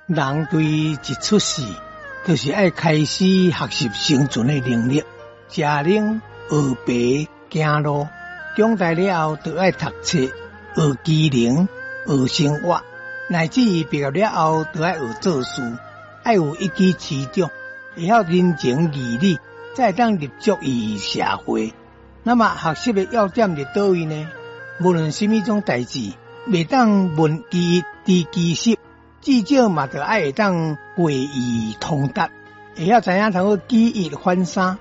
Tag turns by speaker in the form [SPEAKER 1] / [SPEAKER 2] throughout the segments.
[SPEAKER 1] 人對一出世，就是愛開始學習生存的能力，食奶、學爬、行路。長大了後，就愛讀冊、學技能、學生活，乃至於畢業了後，就愛學做事，愛有一技之長，會曉人情義理，才會當立足於社會。那麼學習的要點佇佗位呢？無論啥物種代誌，袂當問其一，知其十，至少嘛著愛會當會意通達，會曉知影通好舉一反三。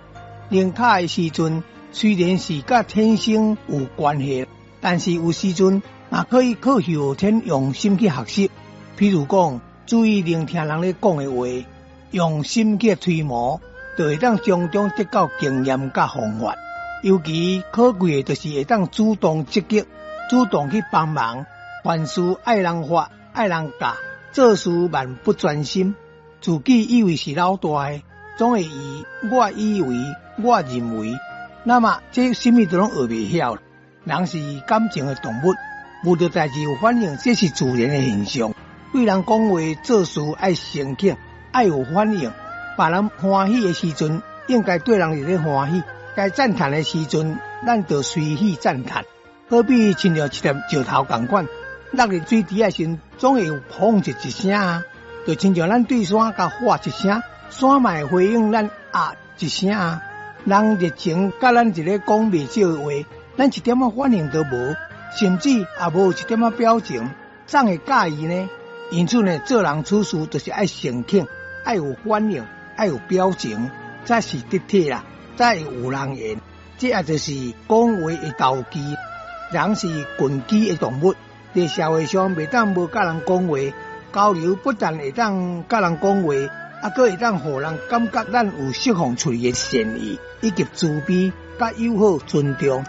[SPEAKER 1] 靈巧的時陣，雖然是佮天生有關係，但是有時陣嘛可以靠後天用心去學習。譬如講，注意聆聽人咧講的話，用心去推磨，就會當從中得到經驗佮方法。尤其可貴的，就是會當主動積極，主動去幫忙。凡事愛人發，愛人教，做事萬不專心，自己以為是老大的，總會以我以為、我認為，那麼這啥物都攏學袂曉。人是感情的動物，遇著代誌有反應，這是自然的現象。對人講話做事愛誠懇，愛有反應。別人歡喜的時陣，應該對人佇咧歡喜；該讚嘆的時陣，咱就隨喜讚嘆。好比親像一粒石頭仝款，落佇水池的時陣，總會有砰一聲啊！就親像咱對山共喊一聲，山嘛會回應咱啊一聲啊！人熱情佮咱一咧講袂少的話，咱一點仔反應都無，甚至也無一點仔表情，怎會佮意呢？因此呢，做人處事就是愛誠懇，愛有反應，愛有表情，才是得體啦，才會有人緣。這也就是講話的投機。人是群居的動物，佇社會上袂當無佮人講話，交流不但會當佮人講話，啊，閣會當予人感覺咱有釋放出去的善意，以及慈悲、佮友好、尊重。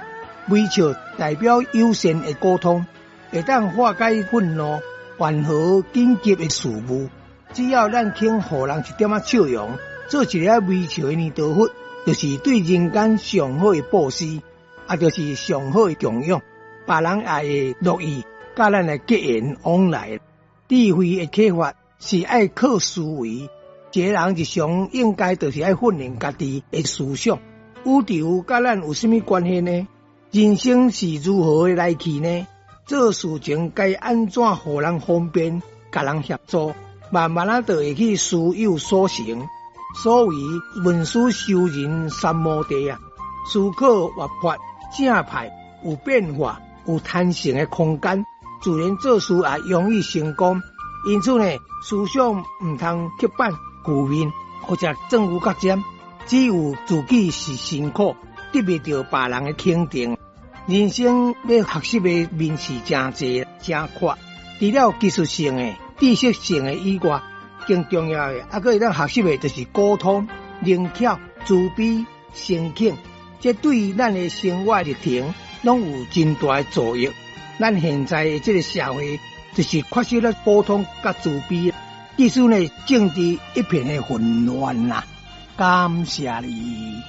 [SPEAKER 1] 微笑代表友善的溝通，會當化解憤怒、緩和緊急的事務。只要咱肯予人一點仔笑容，做一个微笑的彌陀佛，就是對人間上好的布施，也就是上好的供養。別人也會樂意佮咱來結緣往來。智慧的啟發是愛靠思維，一個人日常應該就是愛訓練家己的思想。宇宙佮咱有啥物關係呢？人生是如何的來去呢？做事情該按怎予人方便，共人協助，慢慢仔就會去事有所成。所謂聞思修仁三摩地啊，思考活潑正派有變化、有彈性的空間，自然做事也容易成功。因此呢，思想毋通刻板、負面或者鑽牛角尖，只有自己是辛苦，得袂著別人的肯定。人生欲學習的面是誠濟、誠闊，除了技術性的、知識性的以外，更重要的，猶閣會當學習的，就是溝通、靈巧、慈悲、誠懇，這對咱的生活歷程攏有真大的助益。咱現在的這個社會，就是缺少了溝通佮慈悲，致使呢政治一片的混亂啦。感謝你。